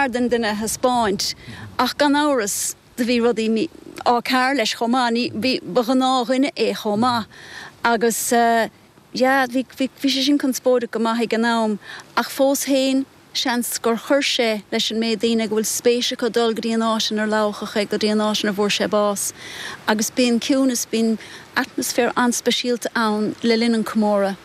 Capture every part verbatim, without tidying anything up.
fearr den duine a thaispeáint ach gan amhras do bhí rudaí mícheart leis chomh maith, ní, bhí, ba ghnáthdhuine é chomh maith agus yeah, bhí, bhí, bhí sé sin conspóideach go maith ag an am ach fós féin seans gur chuir sé leis an méid daoine go bhfuil spéis acu dul go dtí an áit inar ladhadh é, go dtí an áit ina bhfuair sé bás. Agus bíonn ciúnas, bíonn atmaisféar an-speisialta ann le linn an chomóradh.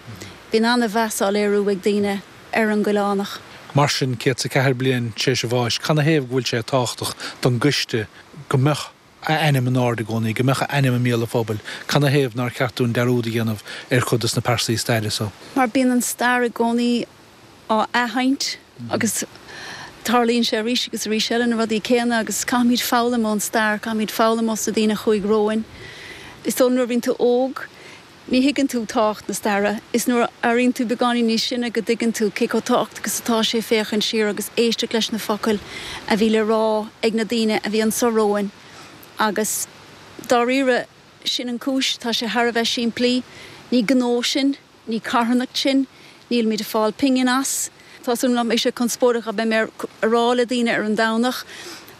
Bíonn an-mheas á léiriú ag daoine ar an gCoileánach. Mar sin, céad is a ceathair bliain tar éis a bháis, canathaobh go bhfuil sé tábhachtach don gcoiste go mbeadh a ainm in airde i gcónaí, go mbeadh a ainm i mbéal an phobail? Canathaobh nár cheart dúinn dearúd a dhéanamh ar chuid de na pearsaí staire so? Mar bíonn an stair i gcónaí á athroinnt agus tarlaíonn sé arís agus arís eile na rudaí céanna agus caithfimid foghlaim ón stair, caithfimid foghlaim ós na daoine a chuaigh romhainn. Is dóigh nuair a bhíonn tú óg, ní thuigeann tú tábhacht na staire, is nuair a éiríonn tú beagáinín níos sine go dtuigeann tú cé chomh tábhachtach is atá sé féachaint siar agus éisteacht leis na focail a bhí le rá ag na daoine a bhí anso romhainn agus dáiríre sin an cúis, tá sé thar a bheith simplí, ní gnó sinn, ní carthanacht sinn, nílimid ag fáil pingin as. Tá súil agam nach mbeidh sé conspóideach a bheidh mé a rá le daoine ar an Domhnach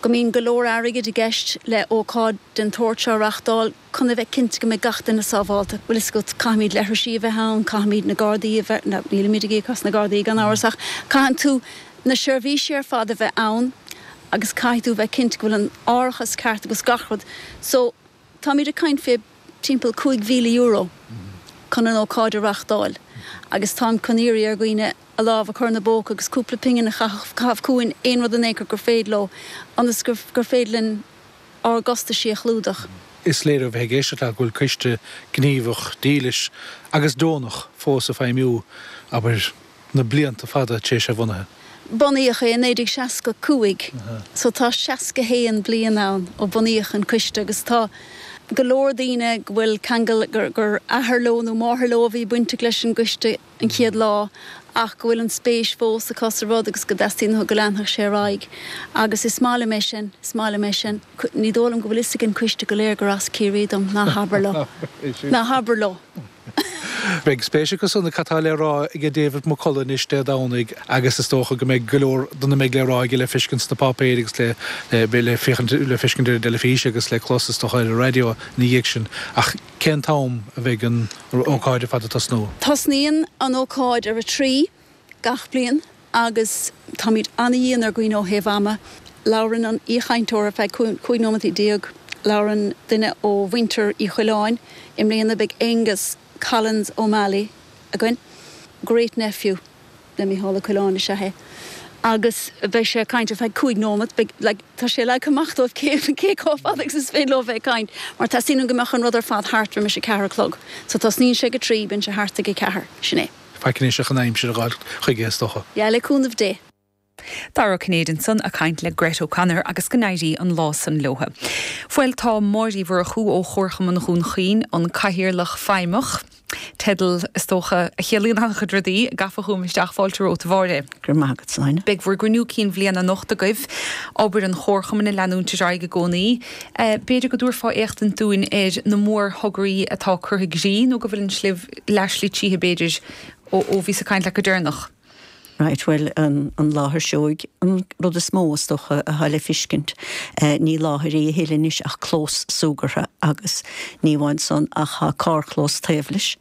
go mbíonn go leor airgid i gceist le ócáid den tsórt seo a reáchtáil chun a bheith cinnte go mbeidh gach duine sábháilte. Bhfuil fhios agat, caithfimid leithrisí a bheith ann, caithfimid na Gardaí a bheith, nó nílimid ag íoc as na Gardaí gan amhras ach caitheann tú na seirbhísí ar fad a bheith ann agus caithfidh tú a bheith cinnte go bhfuil an árachas ceart agus gach rud. So, táimid ag caint fé timpeall cúig mhíle euro chun an ócáid a reáchtáil agus táim chun iarraidh ar dhaoine a lámh a chur ina bpóca agus cúpla pingin a chaitheamh chugainn, aon rud in aon chor gur féidir leo, ionas gur féidir linn ár gcostaisí a chlúdach. Is léir ó bheith ag éisteacht leat go bhfuil coiste gníomhach, dílis agus deonach fós ag feidhmiú, abair, na blianta fada tar éis a bhunaithe. Bunaíodh é i naoi déag seasca cúig so tá seasca haon bliain ann ó bunaíodh an coiste agus tá go leor daoine go bhfuil ceangal gur athair leo nó máthair leo a bhí bainteach leis an gcoiste an chéad lá ach go bhfuil an spéis fós acu sa rud agus go dteastaíonn uathu go leanfadh sé ar aghaidh agus is maith liom é sin, is maith liom é sin. Ní dóigh liom go bhfuil fhios ag an coiste go léir gur as Ciarraí dom, ná habair leo, ná habair leo. Beidh spéis acu san cad tá le rá ag David McCullough anois Dé Domhnaigh agus is dócha go mbeidh go leor dona mbeidh le rá aige le feiscint sna páipéir agus le le féachaint le feiscint ar an dteilifís agus le clos is dócha ar an raidió ina dhiaidh sin. Ach cén t-am a bheidh an ócáid ar fad ag tosnú? Tosnaíonn an ócáid ar a trí gach bliain agus táimid an-dhian ar dhaoine ó thaobh ama. Labhrann an aoichainteoir ar feadh cúig nóimeataí déag. Labhrann duine ó mhuintir Uí Choileáin. I mbliana beidh Aengus Collins O'Malley againn. Great nephew le Mícheál Ó Coileáin is ea é agus beidh sé ag caint ar feadh cúig nóimeat. Beidh, like, tá sé leagtha amach dóibh cé, cé chomh fada agus is féidir leo bheith ag caint mar teastaíonn go mbeadh an rud ar fad thart roimis a ceathair a chlog. So tosnaíonn sé ag a trí, bíonn sé thart ag a ceathair. Sin é. Faic anois ach an aimsir a dh'fháil chuige is dócha. Yeah, le cúnamh Dé. Dara Ó Cinnéide ansan ag caint le Grett O'Connor agus go n-éirí an lá san leotha. Bhuel tá Máire Uí Mhurchú ó Chomharchumann Dhún Chaoin, an Cathaoirleach Feidhmeach, teideal is dócha a chiallaíonn an-chuid rudaí, gafa chugam isteach, fáilte romhat a Mháire. Go raibh maith agat, Sláine. Beidh bhur gcruinniú cinn bhliana anocht agaibh, obair an Chomharchumainn ag leanúint ar aghaidh i gcónaí. B'fhéidir go dtabharfá éachtaint dúinn ar na mórthograí atá curtha i gcrích nó go bhfuil an slibh leathshlí tríothu b'fhéidir ó bhíos ag caint leat go deireanach. Right, bhuel, an láthair seoigh an rud is mó, is dócha, atá le feiscint. Ní láthair í a thuilleadh anois ach clós súgartha agus ní amháin san ach tá carrchlós taobh leis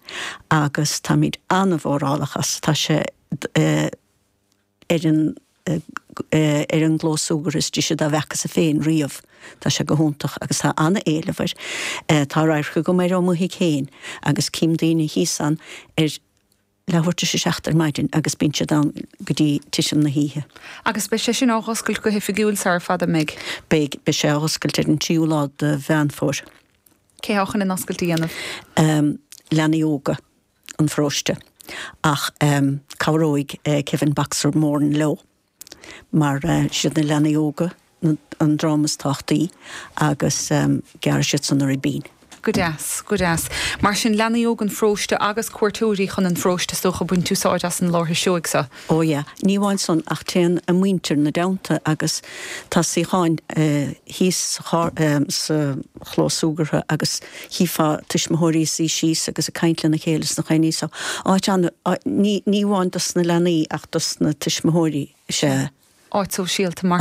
agus táimid an-mhórálach as. Tá sé ar an ar an gclós súgartha is deise dá bhfeacasa féin riamh. Tá sé go hiontach agus tá an-éileamh air. Tá radharc agam air ó mo thigh féin agus cím daoine thíos ann ar leathuair tar éis a seacht ar maidin agus bíonn siad ann go dtí titim na hoíche. Agus beidh sé sin á dh'oscailt go hoifigiúil sara fada, an mbeidh? Beidh, beidh sé á dh'oscailt ar an tríú lá de Mheán Fómhair. Cé thá chun an oscailt a dhéanamh? Leanaí óga an pharóiste ach cabhróidh Kevin Boxer Moran leo. Mar siad na leanaí óga an dream is tábhachtaí agus gearrfaidh siad san a ribín. Go deas, go deas. Mar sin, leanaí óga an pharóiste agus cuairteoirí chun an pharóiste is dócha ag baint úsáid as an láthair seoigh seo. Ó yeah. Ní amháin san ach téann a muintir 'na dteannta agus tá suíocháin thíos sa chlós súgartha agus chífeá tuismitheoirí ag suí síos agus ag caint lena chéile sna coinní so áit an, ní amháin dos na leanaí ach dos na tuismitheoirí is ea. Áit sóisialta mar